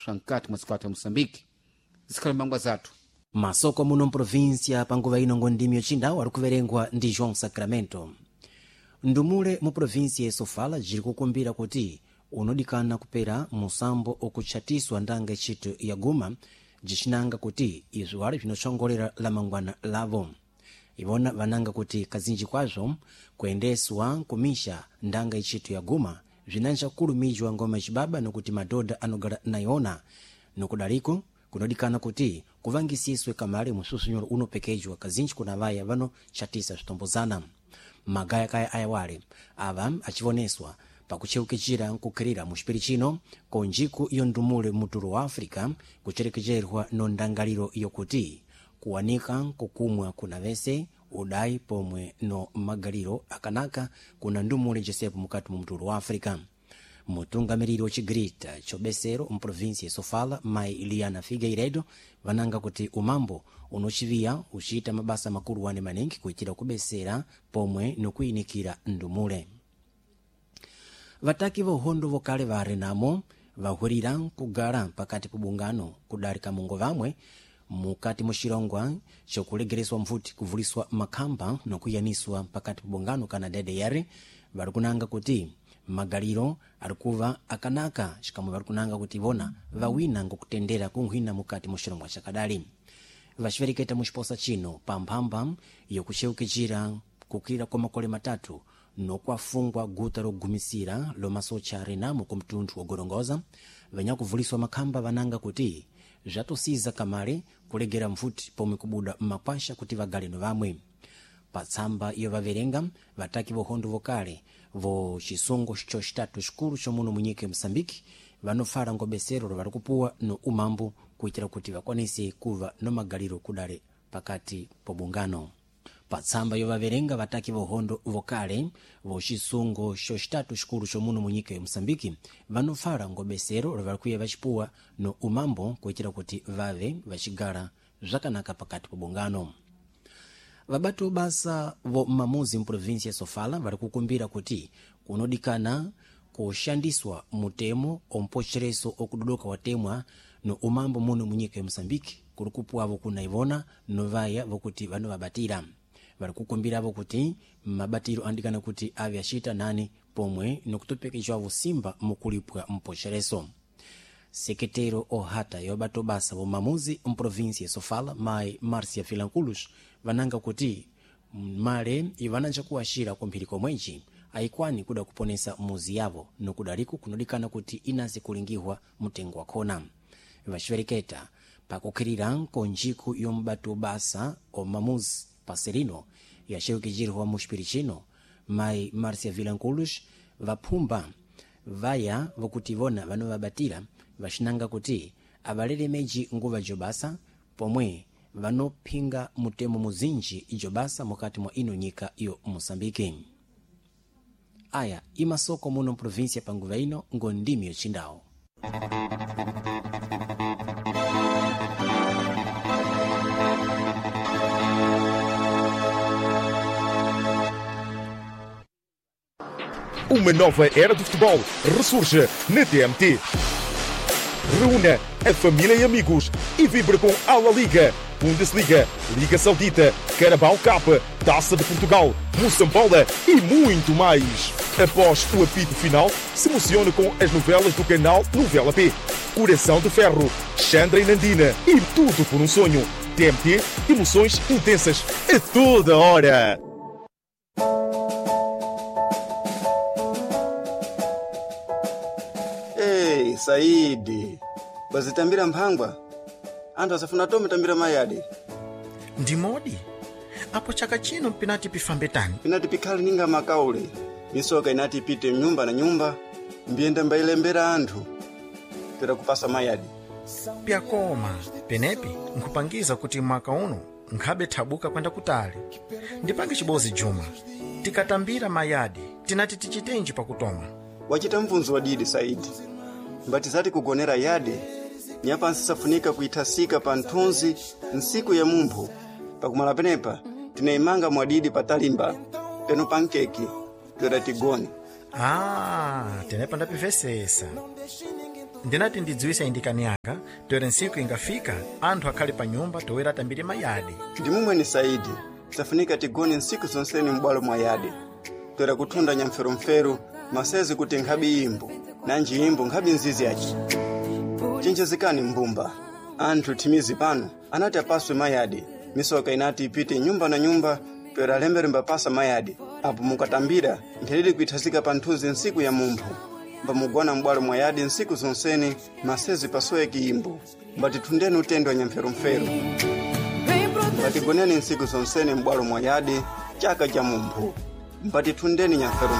swa mkati mwa dziko ya Moçambique. Zikhale mangwa zathu. Masoko muno mprovinsia panguva ino ngondimi yocindawo ari kuverengwa ndi João Sacramento. Ndumule mu provinsia ya Sofala jiri kukumbira kuti unodikana kupera musambo okutchatiswa ndanga ntchito ya guma, jicinanga kuti izwo ali bzinotsongolera lamangwana lavo. Ivona vananga kuti kazinji kwazvo kuyendeswa kumisha ndanga ntchito ya guma bzinanja kulumijwa ngoma cibaba nokuti madhodha anogala nayona, nokudaliko kunodikana kuti kuvangisiswe kamale mususunyolo unopekejwa kazinji kuna vaya vanochatisa zvitombozana. Magayakaya ayawale ava achivoneswa pakucheukechera nkukhirira mu xipiri chino ko njiku iyo ndumule mutulo wa África, kucherekecherwa no ndangaliro yokuti kuwanika nkukumwa kuna vese udayi pomwe no magaliro akanaka kuna ndumule jesepo mukati mu mutulo wa África. Mutungamiriri wa chigrita chobesero mprovinsi ya Sofala, mai Iliana Figueiredo, vananga kuti umambo unochiviya uchiita mabasa makulu wane maningi kuitira kubesera pomwe nokuyinikira ndumule. Vataki va uhondo vokale va Renamo vahwirira kugala pakati pa bungano kudarika mungo vamwe mukati mu xilongwa cokulegereswa mvuti, kuvuliswa makhamba nokuyaniswa pakati pa bungano kana DDR. Vari kunanga kuti magaliro ari kuva akanaka, xikamwe vari kunanga kuti vona vawina ngokutendera kunghwina mukati mu xilongwa chakadali. Vaxivereketa mu xiposa chino pa mphamba yokucheukechera kukwira kwa makole matatu nokwafungwa guta logumisira lomasocha Renamo ku mtunthu wogorongoza. Vanyakuvuliswa makhamba vananga kuti zvatosiza kamale kulegera mvuti pomwe kubuda mmakwasha kuti vagale no vamwe. Patsamba iyo vaverenga, vataki vohondo vokale vo chisungo cocitatu xikulu comuno munyika ya Moçambique vanofara ngobesero lovari kupuwa no umambo kuitira kuti vakwanise kuva no magaliro kudale pakati po bungano. Patsamba yovaverenga, vataki vohondo vokale vo chisungo cocitatu xikulu comuno munyika ya Moçambique vanofara ngobesero lovari kuya vacipuwa no umambo kuitira kuti vave vacigala zvakanaka pakati po bungano. Vabati basa vo mamuzi mprovinsia ya Sofala vari kukumbira kuti kunodikana kushandiswa mutemo ompochereso okudodoka watemwa no umambo muno munyika ya Moçambique kuri kupuwavo kuna ivona novaya vokuti vanovabatira. Vari kukumbiravo kuti mabatiro andikana kuti ave acita nani pomwe nokutopekejwavo simba mukulipwa mpochereso. Sekretero ohata yobato basa vomamuzi mprovinsia ya Sofala, mai Marcia Filanculus, vananga kuti male ivananja kuwaxira kumphiri komwenji ayikwani kuda kuponesa muzi yavo, nokudaliku kunodikana kuti inase kulingihwa mtengo wakhona. Vaxivereketa pakukhirira nkonjiku yombato basa omamuzi paserino yaxewekejirwa mu xipiri chino, mai Marcia Vilanculus vaphumba vaya vokuti vona vanovabatira, vaxinanga kuti avalelemeji nguva jobasa pomwe vanophinga mutemo muzinji ijobasa mukati mwa ino nyika yo Moçambique. Aya imasoko muno mprovinsia panguva ino ngondimi yocindawo. Uma nova era do futebol ressurge na TMT. Reúna a família e amigos e vibre com a La Liga, Bundesliga, Liga Saudita, Carabao Cup, Taça de Portugal, Moçambola e muito mais. Após o apito final, se emocione com as novelas do canal Novela P. Coração de Ferro, Chandra e Nandina e Tudo por um Sonho. TMT, emoções intensas a toda hora. Ei, Saidi, bazitambira mphangwa anthu asafuna tome tambira mayadi. Ndimodi apo chaka chino pinati pifambe tani? Pinati pikhale ninga makaule misoka inati ipite nyumba na nyumba mbiyenda mbayilembera anthu pera kupasa mayadi. Pyakoma penepi nkhupangiza kuti mwaka uno nkhabe thabuka kwenda kutali. Ndipange chibozi Juma, tikatambira mayadi tinati tichitenji pakutoma? Wachita mvunzo wadidi, Saidi. Mbatizati kugonera yade nyapansi safunika kuithasika pa nthunzi nsiku ya mumpho. Pakumala penepa tinayimanga mwadidi patalimba peno pankeki toera tigone. Ah, tenepa ndapivesesa. Ndinati ndidziwise indikani yanga toera ntsiku ingafika anthu akhale pa nyumba toera atambire mayadi. Ndi mumweni Saidi, safunika tigone ntsiku zonseni m'bwalo mwa yadi, toera kuthunda nyamferumferu masezi kuti nkhabi imbo nanji imbo nkhabi nzizi yaci. Chenjezekani mbumba, anthu thimizi pano anati apaswe mayadi, misoka inati ipite nyumba na nyumba toera lembere mbapasa mayadi. Apo mukatambira nthelili kuithasika pa nthunzi ntsiku ya mumpho, mbamugona m'bwalo mwa yadi ntsiku zonseni masezi pasoweki imbo, mbatithundeni utendo wa nyamferumferu. Mbatigoneni ntsiku zonseni m'bwalo mwa yadi chaka cha mumpho, mbatithundeni nyamferumferu.